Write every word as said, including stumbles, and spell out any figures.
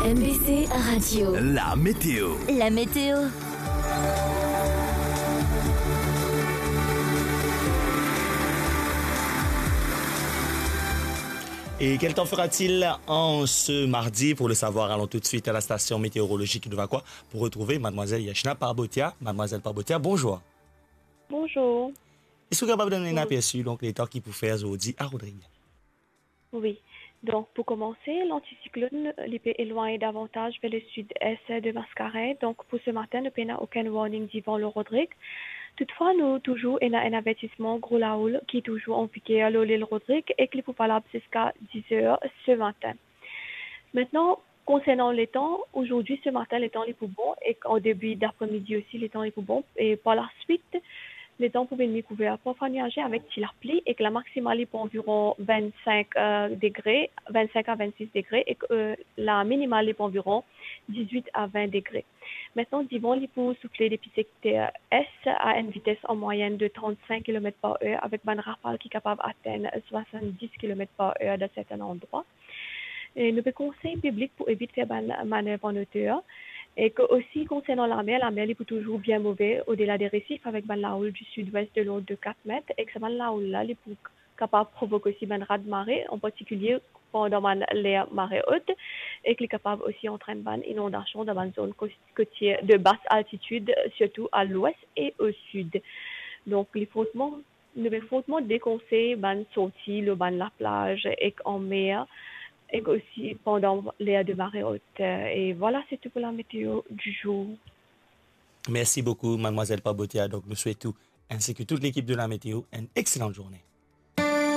M B C Radio. La météo. La météo. Et quel temps fera-t-il en ce mardi ? Pour le savoir, allons tout de suite à la station météorologique de Vacoas pour retrouver mademoiselle Yashna Parbotia. Mademoiselle Parbotia, bonjour. Bonjour. Est-ce que vous êtes capable de donner un aperçu, donc, les temps qui pour faire aujourd'hui à Rodrigues ? Wi. Donk, pou komanse, lantisiklonn, li pe elwagn davantaz ver lesud-es de Mascarenhas. Donk, pou se matin, nou pena okenn warning divan lor Rodrig. Toutfwa, nou touzour ena enn avertisman gro laoul ki touzour an viger lor lil Rodrig e ki pou valab ziska diz er se matin. Aster, konsernan letan, azordi, se matin, letan li pou bon, ek an debi dapremidi osi, letan li pou bon. E par laswit, letan pou vinn kouver parfwa niaze avek ti lapli, ek lamaksimal li pou anviron vinn-sink, euh, degre, vinn-sink a vinn-sis degre, ek, euh, laminimal li pou anviron diz-wit a vinn degre. Aster, divan li pou soufle depi sekter es a enn vites an mwayenn de trant-sink kilomet par er, avek bann rafal ki kapav atenn swasann-dis kilomet par er dan sertin landrwa. E nou pe konsey piblik pou evit fer bann manev an oter. Ek osi konsernan lamer, lamer li pou touzour bien move odela de resif avek bann laoul di sid-wes de lord de kat met, ek sa bann laoul la, li pou kapav provok osi bann raz-mare, an partikilie pandan bann ler mare ot, ek li kapav osi antrenn bann inondasion dan bann zone kos-, kotier de bas altitid, sirtou a lwes e o sid. Donk, li fortman nou pe fortman dekonsey bann sorti lor bann laplaz ek anmer, ek osi pandan ler de mare ot. E vwala, se tou pou la météo du jour. Merci beaucoup, mademoiselle Parbotia. Donc, nous souhaitons, ainsi que toute l'équipe de la météo, une excellente journée.